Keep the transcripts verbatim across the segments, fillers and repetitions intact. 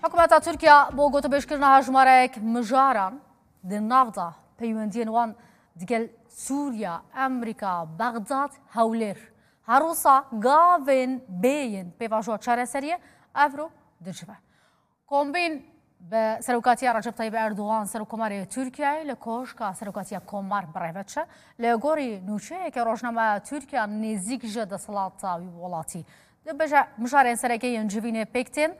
Hikûmeta Tirkiye bo gotûbêjkirina hejmarek mijaran di nav de peywendiyên wan digel Sûriya, Amerîka, Bexdad, Hewlêr. Her wisa gavên bê yên pêvajoya çareseriyê evro dicive. Kombîn bi serokatiya Recep Tayyip Erdogan, Serokkomarê Tirkiyeyê, li Koşka Serokatiya Komar bi rê ve diçe. Li gorî nûçeyeke rojnameya Tirkiye nêzîk ji desthilata wî welatî dibêje, mijarên sereke yên civînê pêk tên.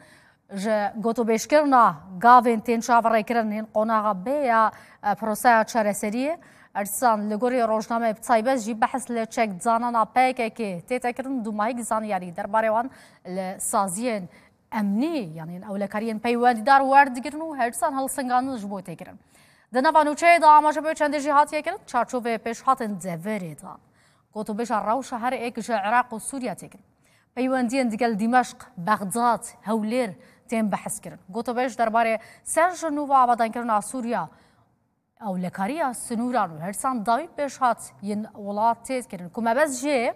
Ji gotûbêjkirina gavên tên çaverêkirin yên qonaxa bê ya, e, proseya çareseriyê. Her dîsan li gorî rojnameyê bi taybet jî behs li çekdanana P K K tête kirin, dûmahîk zanyarî derbarê wan li saziyên emnî, yanî ewlekariyên peywendîdar werdigirin û her dîsan hilsingandin ji bo tê kirin. Di nava nûçeyê de amaje bi çendê jî hatiye kirin, çarçoveyê pêşhatên deverê de. Gotûbêja rewşa her êk ji Iraq û Sûriye tê kirin. Peywendiyên digel Dîmeşq, Bexdad, Hewlêr tên behs kirin. Gotûbêj derbarê ser ji nû ve avadankirina Sûriye, ewlekariya sinûran û her dîsan dawî pêşhat yên welat tê kirin ku mebest jê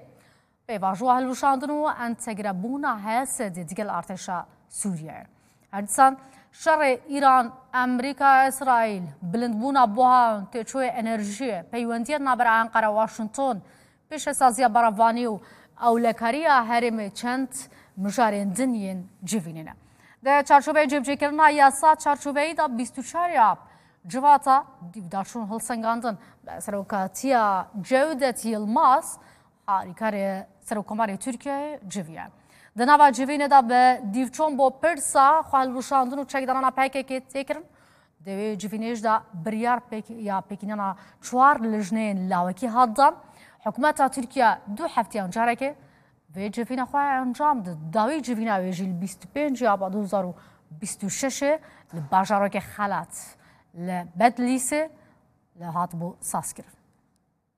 pêvajoya hilweşandin û entegrebûna H S D'ê digel artêşa Sûriyeyê. Her dîsan şerê Îran, Amerîka, Îsraîl, bilindbûna buhan, têçoyê enerjiyê, peywendiyên navbera Enqere Washington, pêşesaziya berevanî û ewlekariya herêmê çend mijarên din yên civînê ne. Di çarçoveyê cîbicîkirina yasa çarçoveyî de bîst û çar ya civata dîvdaşûn hilsengandin bi serokatiya Cewdet Yilmaz, harîkarê Serokkomarê Tirkiyeyê civiye. Di nava civînê de bi dîvçûn bo pirsa xwehilweşandin û çekdanana P K K tê kirin. Di wê civînê jî de biryar pêk-, ya pêkînana çar lijneyên lawekî hat dan. Hikûmeta Tirkiye du hefteyan carekê vê civîna xwe encam dide. Dawî civîna wê jî li bîst û pêncê aba du hezar û bîst û şeş li bajarokê Xelat li Bedlîsê li hatibû sazkirin.